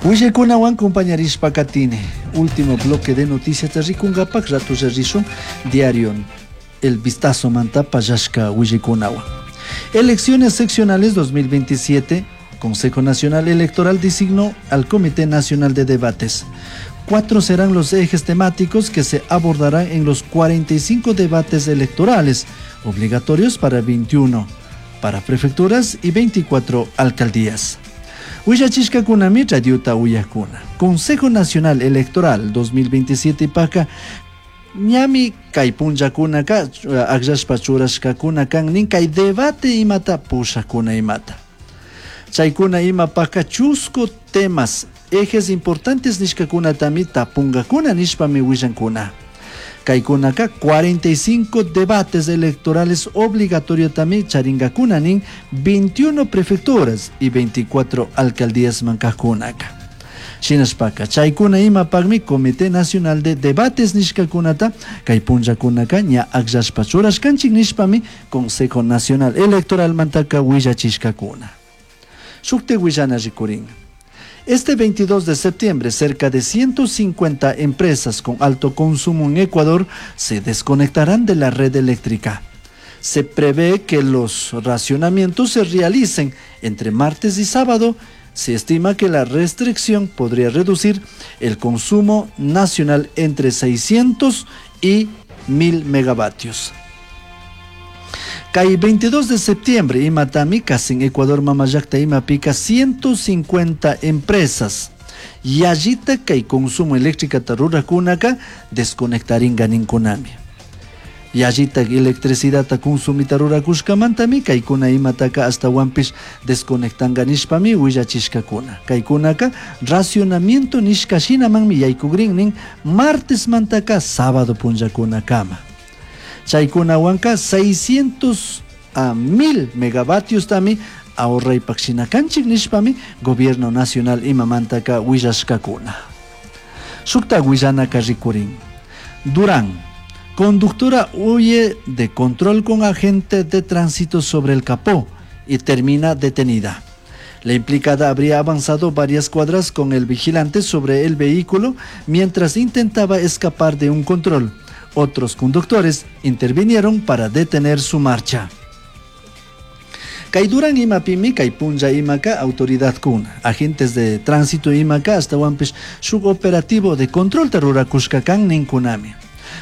Huillaicunahuan compañarishpa catini. Último bloque de noticias ricungapak ratulla rishun diario El Vistazo manta pallashca huillaicunahuan. Elecciones seccionales 2027. Consejo Nacional Electoral designó al Comité Nacional de Debates. 4 serán los ejes temáticos que se abordarán en los 45 debates electorales, obligatorios para 21, para prefecturas y 24 alcaldías. Huillachishkakunami radiota uyakuna. Consejo Nacional Electoral 2027 paka ñami kay punllakunaka akllashpa churashkakuna kan nin kay debate imata pushakuna imata. Chaykuna imapaka chusku temas ejes importantes nishkakunatami tapungakuna nishpami willankuna. Kaykunaka 45 debates electorales obligatoriotami charingakuna nin 21 prefecturas y 24 alcaldías mankajkunaka. Shinashpaka chaykuna imapakmi Comité Nacional de Debates nishkakunata kay punllakunaka ña akllashpa churashkanchik nishpami Consejo Nacional Electoral mantaka willachishkakuna. Shukti willana rikurin. Este 22 de septiembre, cerca de 150 empresas con alto consumo en Ecuador se desconectarán de la red eléctrica. Se prevé que los racionamientos se realicen entre martes y sábado. Se estima que la restricción podría reducir el consumo nacional entre 600 y 1000 megavatios. Kay 22 de septiembre, imatami, casi en Ecuador, mamallakta imapica 150 empresas. Yallita kay consumo eléctrica rurakunaka desconectaringa ninkunami. Yallita electricidad consumita rurakushkamantami kaykuna imataka astawanpish desconectanga nishpami willachishkakuna. Kaykunaka racionamiento nishka shinamanmi yaykugrin nin martes mantaka sábado punllakunakama. Chaykunawanka 600 a 1000 megavatios tami ahorraypak shinakanchik nishpami Gobierno Nacional imamantaka willashkakuna. Shukta willanaka rikurin. Durán, conductora huye de control con agente de tránsito sobre el capó y termina detenida. La implicada habría avanzado varias cuadras con el vigilante sobre el vehículo mientras intentaba escapar de un control. Otros conductores intervinieron para detener su marcha. Kay Durán imapimi, kay punlla imaka autoridad kuna, agentes de tránsito imaka astawanpish shuk operativo de control rurakushka kan ninkunami.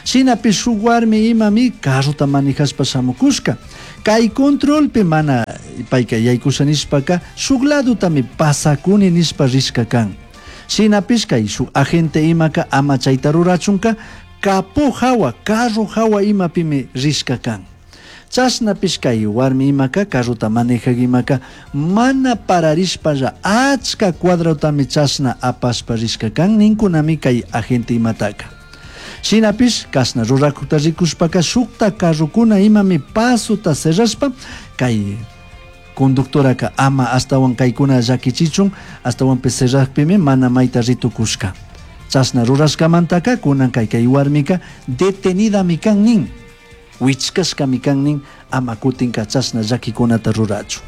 Shinapish shuk warmi imami carrota manejashpa shamukushka. Kay controlpi mana payka yaykusha nishpaka shuk ladutami pasakuni nishpa rishka kan. Shinapish kay shuk agente imaka ama chayta rurachunka capó hawa, carro hawa imapimi rishka kan. Chashnapish kay warmi imaka, carrota manejak imaka, mana pararishpalla achka cuadrotami chashna apashpa rishka kan, ninkunami kay agente imataka. Shinapish kashna rurakukta rikushpaka shukta carrokuna imami pasota cerrashpa kay conductoraka ama astawan kaykuna llakichichun, astawanpish cerrakpimi mana mayta ritukushka. Chashna rurashkamantaka kunan kay kay warmika detenidami kan nin, wichkashkami kan nin, ama kutinka chashna llakikunata rurachun.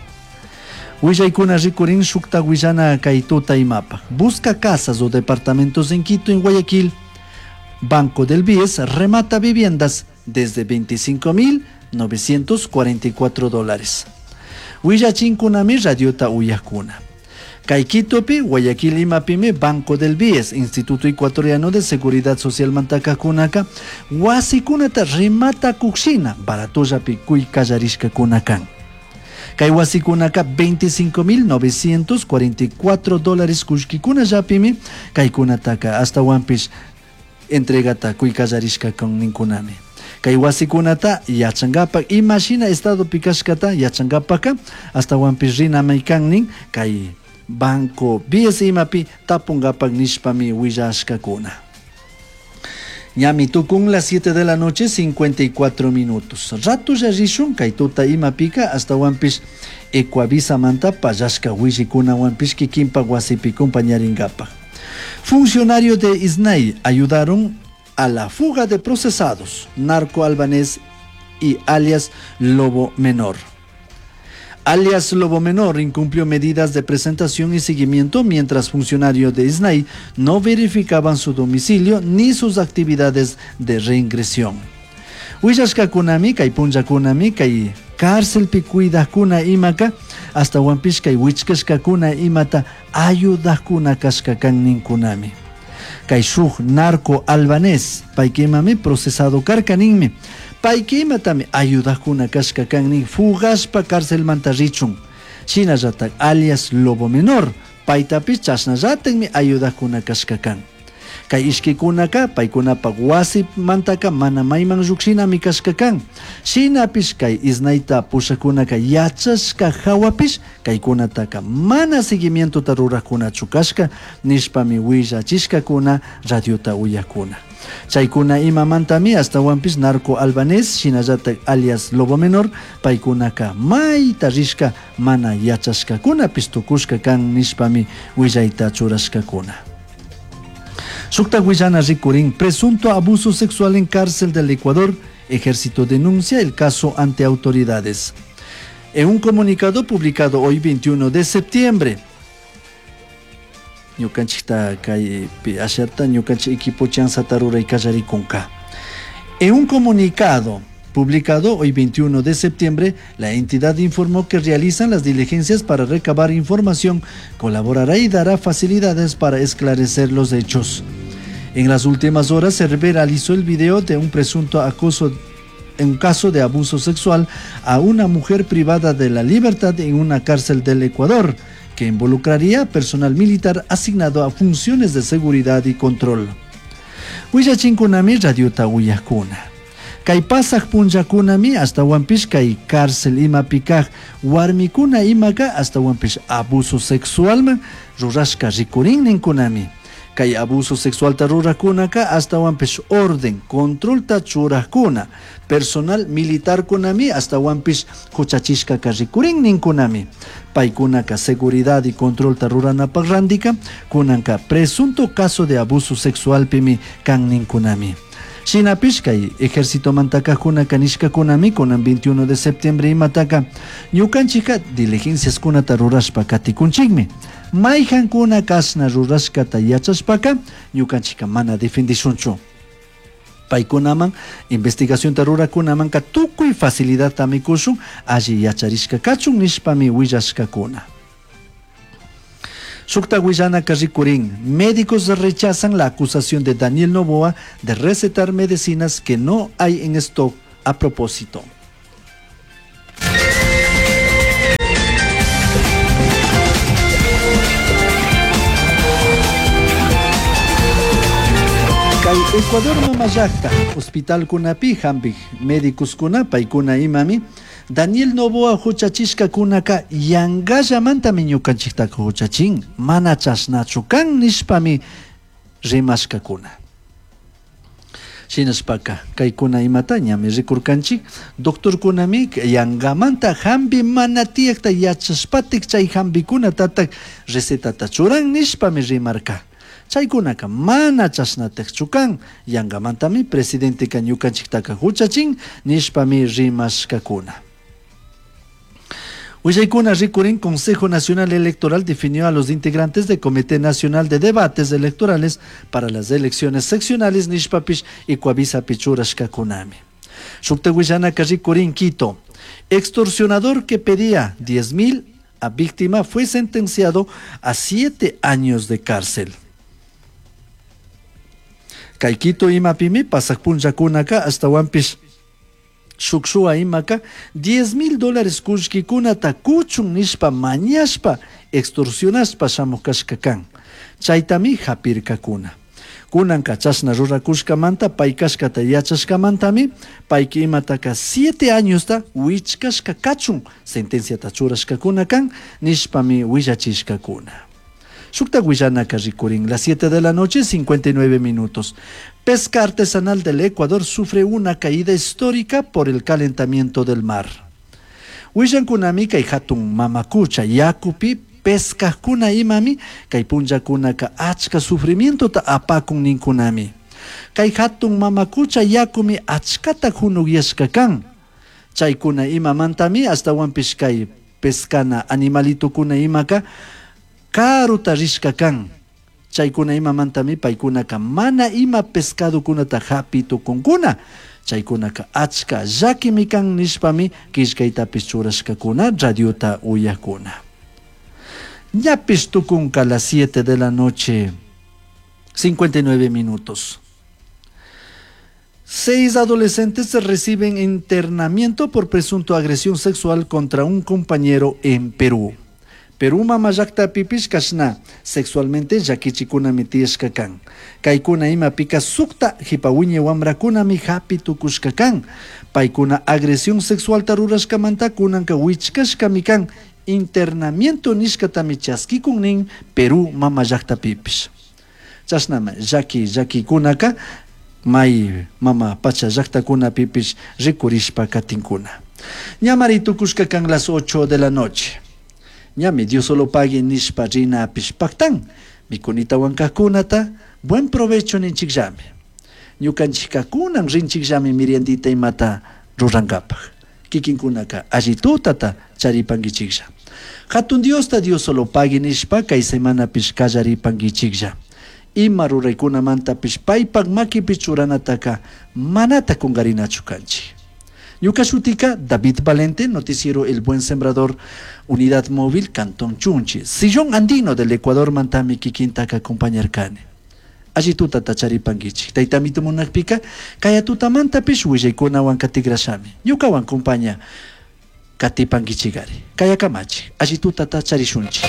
Willaykuna rikurin shukta willana kay tuta imapaj. Busca casas o departamentos en Quito, en Guayaquil. Banco del Bies remata viviendas desde 25.944 dólares. Willachinkunami radiota uyakuna. Kay Quitopi, Guayaquil imapimi, Banco del Bies, Instituto Ecuatoriano de Seguridad Social mantakakunaka, wasikunata remata kukshina, baratollapi kuy kallarishkakunakan. Kay wasikunaka 25.944 dólares kullkikunallapimi, kaykunataka astawanpish entregata kuy kallarishka kan ninkunami. Kay wasikunata yachankapak, imashina estadopi kashkata yachankapaka, astawanpish rinamay kan nin, kay Banco Bies imapi tapunkapak nishpami willashkakuna. Ñami tukun las 7 de la noche, 54 minutos. Ratulla rishun kay tuta imapika astawanpish Ecuavisa manta pallashka willikunawanpish kikinpak wasipi compañarinkapak. Funcionarios de ISNAI ayudaron a la fuga de procesados, narco albanés y alias Lobo Menor. Alias Lobo Menor incumplió medidas de presentación y seguimiento mientras funcionarios de ISNAI no verificaban su domicilio ni sus actividades de reingresión. Willashkakunami kay punllakunami kay cárcelpi cuidajkuna imaka ashtahuanpish kay wichkashkakuna imata ayudajkuna kashka kan ninkunami. Kay shuk narco albanés payka imami procesado karka ninmi. Payka imatami ayudajkuna kashka kan nin fugashpa carcelmanta richun. Shinallatak alias Lobo Menor paytapish chashnallatakmi ayudajkuna kashka kan. Kay ishkikunaka paykunapak wasimantaka mana mayman llukshinami kashka kan. Shinapish kay ISNAIta pushakunaka yachashka hawapish kaykunataka mana seguimientota rurajkunachu kashka nishpami willachishkakuna radiota uyakuna. Chaykuna imamantami ashtahuanpish narco albanés shinallatak alias Lobo Menor paykunaka mayta rishka mana yachashkakunapish tukushka kan nishpami willayta churashkakuna. Shuktak willana rikurin presunto abuso sexual en cárcel del Ecuador, Ejército denuncia el caso ante autoridades. En un comunicado publicado hoy 21 de septiembre, ñukanchikta kay asharta ñukanchik equipo chanzata ruray kallarikunka. En un comunicado publicado hoy 21 de septiembre, la entidad informó que realizan las diligencias para recabar información, colaborará y dará facilidades para esclarecer los hechos. En las últimas horas se viralizó el video de un presunto acoso en un caso de abuso sexual a una mujer privada de la libertad en una cárcel del Ecuador, que involucraría personal militar asignado a funciones de seguridad y control. Willachinkunami radiota uyakuna. Kay pasaj punllakunami ashtahuanpish kay cárcel imapi kaj warmikuna imaka ashtahuanpish abuso sexualman rurashka rikurin ninkunami. Kay abuso sexualta rurakunaka ashtahuanpish orden, controlta churajkuna, personal militarkunami ashtahuanpish huchachishkaka rikurin ninkunami. Paykunaka seguridad y controlta ruranapak randika kunanka presunto caso de abuso sexualpimi kan ninkunami. Shinapish kay ejércitomantaka nishkakunami kunan 21 de septiembre imataka ñukanchika diligenciaskunata rurashpa katikunchikmi. Mayhankuna kashna rurashkata yachashpaka ñukanchika mana defendishunchu. Paykunaman investigacionta rurakunamanka tukuy facilidadtami kushun alli yacharishka kachun nishpami willashkakuna. Shukta willanaka rikurin, médicos rechazan la acusación de Daniel Noboa de recetar medicinas que no hay en stock a propósito. Kay Ecuador mamallakta, hospital kunapi hampik médicos kuna paykuna imami Daniel Noboa huchachishkakunaka yangallamantami ñukanchiktaka huchachin, mana chashnachu kan nishpami rimashkakuna. Shinashpaka kaykuna imata ñami rikurkanchik, doctorkunami yangamanta hampi mana tiyakta yachashpatik chay hampikunatatak recetata churan nishpami rimarka. Chaykunaka mana chashnatakchu kan, yangamantami presidenteka ñukanchiktaka huchachin nishpami rimashkakuna. Willaykuna rikurin Consejo Nacional Electoral definió a los integrantes del Comité Nacional de Debates Electorales para las elecciones seccionales nishpapish y Coavisapi churashkakunami. Shukta willanaka rikurin Quito. Extorsionador que pedía 10.000 a víctima fue sentenciado a 7 años de cárcel. Kay Quito imapimi pasaj punllakunaka ashtahuanpish shuk shuwa imaka 10.000 dólares kullkikunata kuchun nishpa mañashpa extorsionashpa shamuj kashka kan. Chaytami hapirkakuna. Kunanka chashna rurakushkamanta pay kashkata yachashkamantami payka imataka 7 añosta wichkashka kachun sentenciata churashkakuna kan nishpami willachishkakuna. Shukta willanaka rikurin, las 7 de la noche, 59 minutos. Pesca artesanal del Ecuador sufre una caída histórica por el calentamiento del mar. Willankunami kay hatun mamakucha yakupi pescajkuna imami kay punllakunaka achka sufrimientota apakun ninkunami. Kay hatun mamakucha yakumi achkata hunukyashka kan. Chaykuna imamantami ashtawanpish kay pescana animalitokuna imaka karuta rishka kan. Chaykuna imamantami paykunaka mana ima pescadokunata hapi tukunkuna. Chaykunaka achka llakimi kan nishpami killkaytapish churashkakuna radiota uyakuna. Ñapish tukunka las 7 de la noche, 59 minutos. 6 adolescentes reciben internamiento por presunto agresión sexual contra un compañero en Perú. Perú mama llaktapipish kashna sexualmente llakichikunami tiyashka kan. Kaykuna imapika sukta jipa wiñay wamrakunami hapi tukushka kan. Paykuna agresión sexualta rurashkamanta kunanka wichkashkami kan. Internamiento nishkatami chaskikun nin Perú mama llaktapipish. Chashnama llaki llakikunaka may mama pacha llaktakunapipish rikurishpa katinkuna. Ñamari tukushka kan las 8 de la noche. Ñami Dios solo pague nishpa rinapish paktan. Mikunita wankakunata buen provecho ninchikllami. Ñukanchikkakunan rinchikllami meriendita imata rurankapaj. Kikinkunaka allitutata charipankichiklla. Hatun Diosta Dios solo pague nishpa kay semanapish kallaripankichiklla. Ima ruraykunamantapish paypak makipi churanataka manata kungarinachu kanchik. Ñuka shutika David Valente, noticiero El Buen Sembrador, Unidad Móvil, Cantón Chunchi, Sillón Andino del Ecuador, mantami kikintaka acompañarkani. Allituta tacharipankichik. Taytamito munakpika, kaya tutamantapish willaykunawan katigrashami. Ñukawan compaña katipankichikari. Kaya kamachi, allituta tacharishunchik.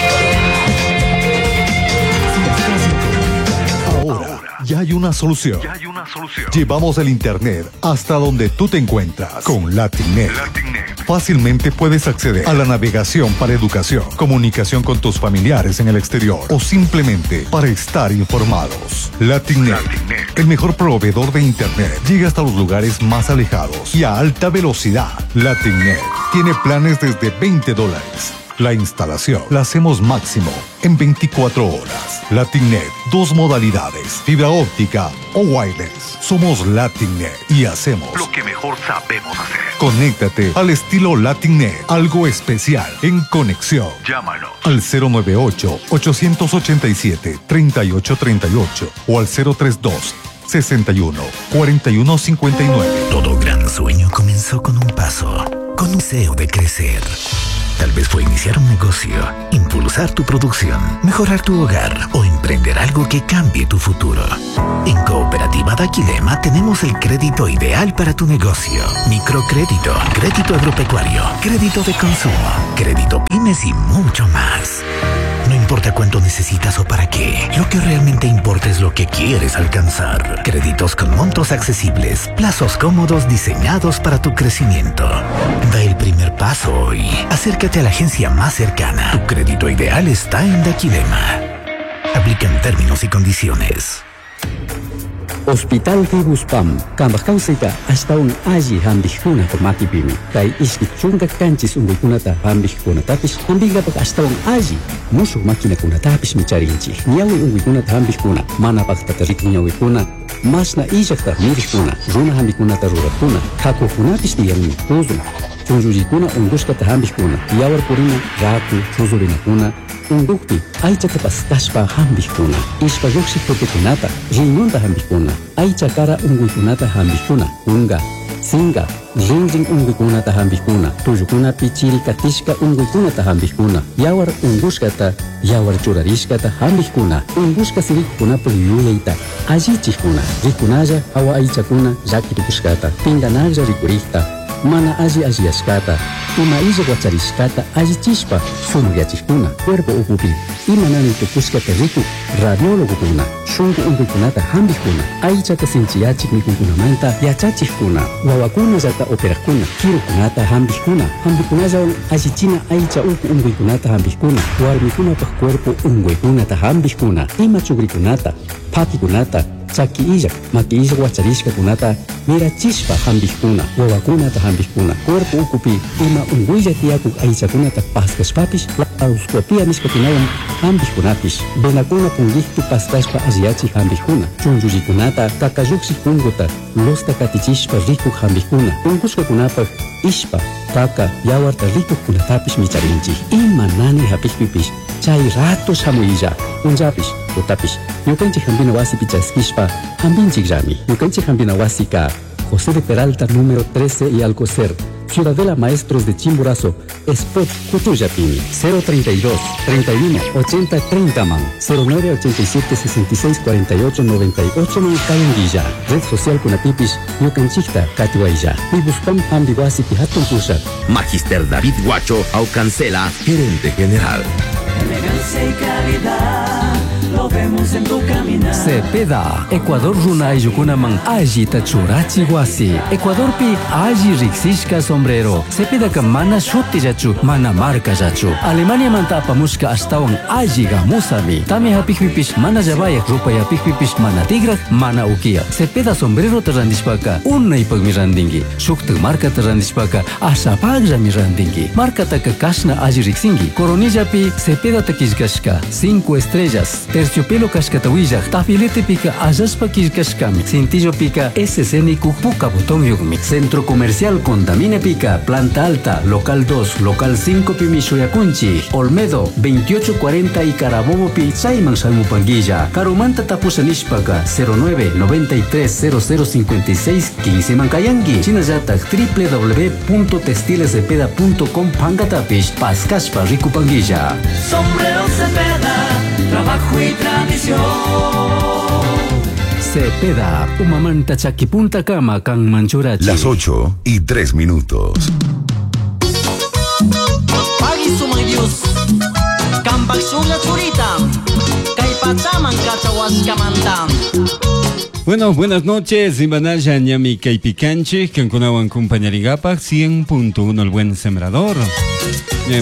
Ahora ya hay una solución. Ya hay una solución. Llevamos el internet hasta donde tú te encuentras con Latinet. Latinet. Fácilmente puedes acceder a la navegación para educación, comunicación con tus familiares en el exterior o simplemente para estar informados. Latinet, Latinet. el mejor proveedor de internet, llega hasta los lugares más alejados y a alta velocidad. Latinet tiene planes desde veinte dólares. La instalación la hacemos máximo en 24 horas. Latinet, 2 modalidades, fibra óptica o wireless. Somos Latinet y hacemos lo que mejor sabemos hacer. Conéctate al estilo Latinet, algo especial en conexión. Llámanos al cero nueve ocho, 887, 3838 o al cero tres dos, 61, 41, 59. Todo gran sueño comenzó con un paso, con un deseo de crecer. Tal vez fue iniciar un negocio, impulsar tu producción, mejorar tu hogar o emprender algo que cambie tu futuro. En Cooperativa Daquilema tenemos el crédito ideal para tu negocio. Microcrédito, crédito agropecuario, crédito de consumo, crédito pymes y mucho más. No importa cuánto necesitas o para qué, lo que realmente importa es lo que quieres alcanzar. Créditos con montos accesibles, plazos cómodos diseñados para tu crecimiento. Da el primer paso hoy. Acércate a la agencia más cercana. Tu crédito ideal está en Daquilema. Aplican términos y condiciones. Hospital Fibuspam, kambaj kawsayta ashtawan alli hampikuna makipimi. Kay ishki chunka kanchis unkuykunata hampikkunatapish hampinkapak ashtawan alli mushuk maquinakunatapish micharinchik. Ñawi unkuykunata hampikkuna, mana paktata rikun ñawikuna, mashna illakta mirikuna, runa hampikunata rurakuna, hakukunapish tiyanmi, puzun, chunllullikuna unkushkata hampikkuna, yawar purina, raku, chuzurinakuna, unkukpi aychata paskashpa hampikkuna, ishpa lluqshik tutukunata, riñonta hampikkuna, aycha kara unkuykunata hampikkuna, kunka, sinka, rinrin unkuykunata hampikkuna, tullukunapi chiri katishka unkuykunata hampikkuna, yawar unkushkata, yawar churarishkata hampikkuna, unkushka sirikukunapak yuyayta allichikkuna, rikunalla hawa aychakuna llaki tukushkata, pinkanaklla rikurikta, mana alli alliyashkata, ima illak wacharishkata allichishpa sumakyachikuna, cuerpo ukupi ima nani tukushkata rikuk radiólogokuna, shunku unkuykunata hampikkuna, aychata sinchiyachik mikunkunamanta yachachikkuna, wawakunallata operakuna, kirukunata hampikkuna, hampikunallawan allichina aycha uku unkuykunata hampikkuna, warmikunapak cuerpo unkuykunata hampikkuna, ima chukrikunata, phakikunata, Chaki illak, maki illak wacharishkakunata mirachishpa hampikuna, wawakunata hampikuna, cuerpo ukupi ima unkuylla tiyakuk aychakunata paskashpapish laparoscopia nishkakunawan hampikkunapish, venakuna punkikpi paskashpa alliyachik hampikkuna, chunchullikunata kakallukshik punkuta losta katichishpa rikuk hampikkuna, unkushkakunapak ishpa, kaka, yawarta rikukkunatapish micharinchik. Ima nani hapikpipish chay rato shamuylla, punllapish, tutapish, ñukanchik hampina wasipi chaskishpa hampinchikllami. Ñukanchik hampina wasika José de Peralta número 13 y Alcocer, Ciudadela Maestros de Chimborazo, Spot Cutullapimi, 032 31 80 30 man, 09 87 66 48 98 man Cayanguilla, Red Social Kunatipis, Ñukanchikta Katiwaylla, Pibuspam Hambiwasi Pihatun Pushak. Magister David Guacho Aucancela, gerente general. Elegancia y calidad, lo vemos en tu caminar. Cepeda, Ecuador runa ayllukunaman allita churachi wasi. Ecuadorpi alli riksishka sombrero. Cepedaka mana shutillachu, mana markallachu. Alemaniamanta apamushka ashtawan alli gamusami. Tami hapikpipish mana llavayak, rupayapikpipish mana tigrak, mana ukiyak. Cepeda sombrerota randishpaka unaypakmi randinki. Shuktak markata randishpaka ashapakllami randinki. Markataka kashna alli riksinki. Coronillapi Cepedata killkashka 5 estrellas. Terciopelo kashkata willak, tafiletepika allashpa killkashkami. Cintillopika SC puka botón yukmi. Centro Comercial Contamine Pica, Planta Alta, Local 2, Local 5 pimi shuyakunchi. Olmedo, 2840 y Carabobo pi chayman shamupanguilla. Karumanta tapusha nishpaka 09 93 00 56 15 mankayanki. Shinallatak www.textilescepeda.com pankatapish paskashpa rikupanguilla. Sombrero Cepeda, trabajo y tradición. Cepeda, umamanta chakipunta kama kan manchurachi. Las 8 y 3 minutos. Pagui sumay Dios. Kampak shunga churita. Kay pachaman kachawashkamanta. Bueno, buenas noches. Imanaya ñami kaypikanchik, kankunawan kumpañaringapak 100.1 el buen sembrador.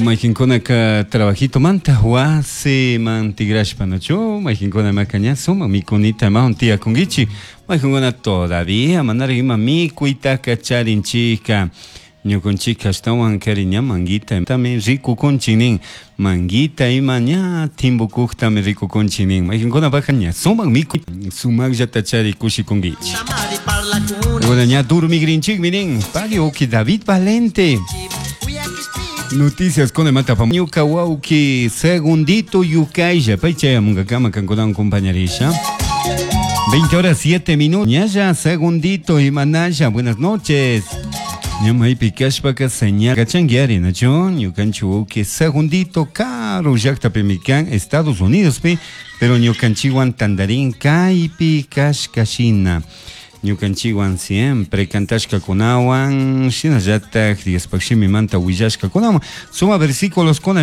Mayqinkuna ka trabajito manta wasi man tigrashpa nachu, mayqinkuna makaña suma mikunita mahun tiyakunkichik, mayqinkuna todavía manara ima mikuytaka charinchikka. Ñukunchik ashtawan kari ña manguita tami rikukunchik nin, manguita ima ña timbukuqtami rikukunchik nin, mayqinkunapaqqa ña sumaq mikuy sumaqllata chari kushikunkichik. Bueno, ña durmigrinchikmi nin, pagui uki David Valente. Noticias con el mata ñuka wawki segundito yukaylla pay chayamunkakama kankunawan compañerisha. 20 horas 7 minutos. Ñalla segundito imanalla. Buenas noches. Ñamaypi kashpaka señal kachankiari nachu ñukanchik wawki segundito karu llaqtapimi kan Estados Unidos pi, pero ñukanchikwan tandarin kaypi kashkashina. Ñukanchikwan siempre kantashkakunawan shinallatak Diospaq shimimanta willashkakunawan suma versículos kuna.